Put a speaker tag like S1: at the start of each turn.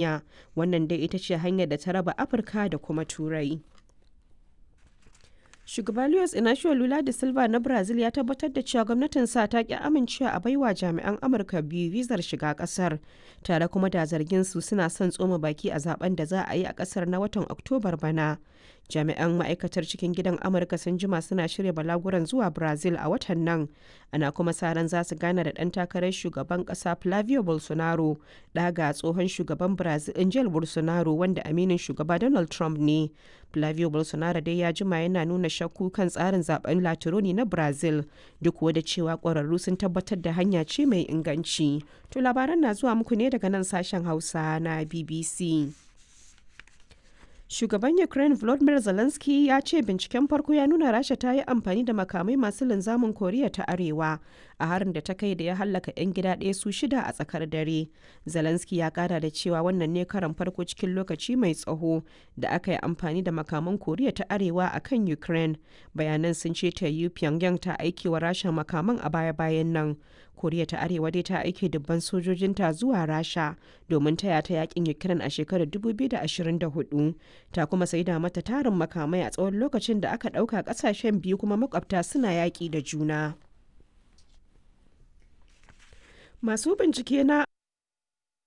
S1: Wannan dai ita ce hanyar da ta raba Afirka da kuma Turai. Shugaba Luiz Inacio Lula da Silva na Brazil ya tabbatar da cewa gwamnatinsa ta ki amincewa a baiwa jami'an Amurka biyu vizar shiga kasar, tare kuma da zargin su suna son tsoma baki a zaben da za a yi a kasar na watan Oktobar bana. Jami'an ma'aikatar cikin gidan Amurka sun jima suna shirya balaguran zuwa Brazil a watan nan, ana kuma sa ran za su gana da ɗan takarar shugaban ƙasa Flavio Bolsonaro, ɗa ga tsohon shugaban Brazil Jair Bolsonaro wanda aminin shugaba Donald Trump ne. Flavio Bolsonaro dai ya jima yana nuna shakku kan tsarin zaben Latironi na Brazil, duk da cewa ƙwararru sun tabbatar da hanya ce mai inganci. To labaran na zuwa muku ne daga nan sashen Hausa na BBC. Shugaban Ukraine Volodymyr Zelensky ya ce binciken farko ya nuna Rasha ta yi amfani da makamai masu linzamin Koriya ta Arewa a harin da ta kai da ya hallaka 'yan gida ɗaya su shida a tsakar dare. Zelensky ya kara da cewa wannan ne karan farko cikin lokaci mai tsawo da aka yi amfani da makaman Koriya ta Arewa a kan Ukraine. Bayanan sun ce ta yi Pyongyang ta aiki wa Rasha makaman a baya-bayan nan. Koriya ta Arewa dai ta aike dubban sojojinta zuwa Rasha domin taya ta yakin Ukraine a shekarar 2024. Ta kuma saida mata tarin makamai a tsawon lokacin da aka ɗauka ƙasashen biyu kuma makwabta suna yaƙi da juna. Masu bincike na